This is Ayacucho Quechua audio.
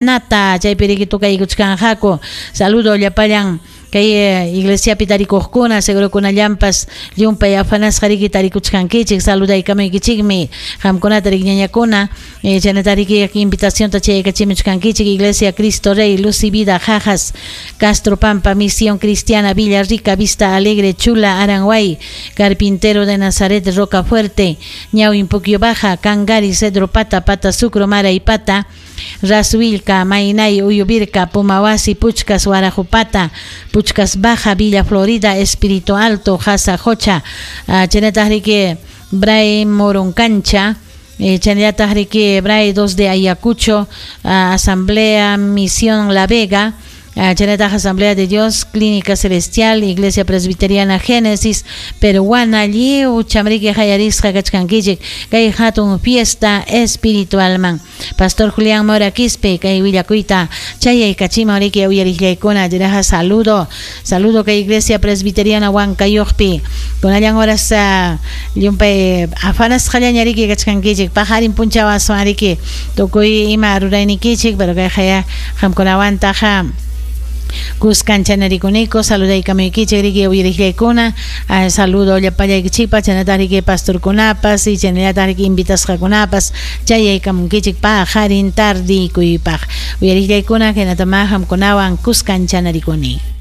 Nata chaypi riki tukaykuchkanqaku. Saludo llapallan kay iglesiapi tarikuqkuna, segurokunallampas llumpay afanasqa riki tarikuchkankichik. Saludaykamuykichikmi qamkunata riki ñañakuna, chaynata riki invitacionta chaykachimuchkankichik. Iglesia Cristo Rey, Luz y Vida, Jajas, Castro Pampa, Misión Cristiana, Villa Rica, Vista Alegre, Chula, Aranguay, Carpintero de Nazaret, Roca Fuerte, Ñawin Puquio Baja, Cangari, Cedro Pata, Pata Sucro, Mara y Pata, Rasuilca, Mainay, Uyubirca, Pumawasi, Puchcas, Guarajupata, Puchcas Baja, Villa Florida, Espíritu Alto, Jasa Jocha, chaynataq riki Bray Moroncancha, chaynallataq riki Bray 2 de Ayacucho, Asamblea Misión La Vega, chaynataq Asamblea de Dios, Clínica Celestial, Iglesia Presbiteriana Génesis, Peruana, lliw chamriki hayarisqa kachkankichik kay hatun fiesta espiritualman. Pastor Julián Mora Quispe, kay willakuyta chayaykachiman riki uyariqllaykuna, chaynaqa saludo, saludo kay Iglesia Presbiteriana Huancayuqpi. Kunallan horas llumpay afanasqallaña riki kachkankichik, paqarin punchaw aswan riki tukuy ima ruraynikichik, pero kay haya qamkunawantaqa kuskan chanarikuniku, saludaykamuykichik riki uyariqllaykuna, saludo llapallaykichikpas, chaynataq riki pastorkunapas y chaynallataq riki invitasqakunapas chayaykamunkichik paqarin tardikuypaq. Uyariqllaykuna, hinatama qamkunawan kuskan chanarikuni.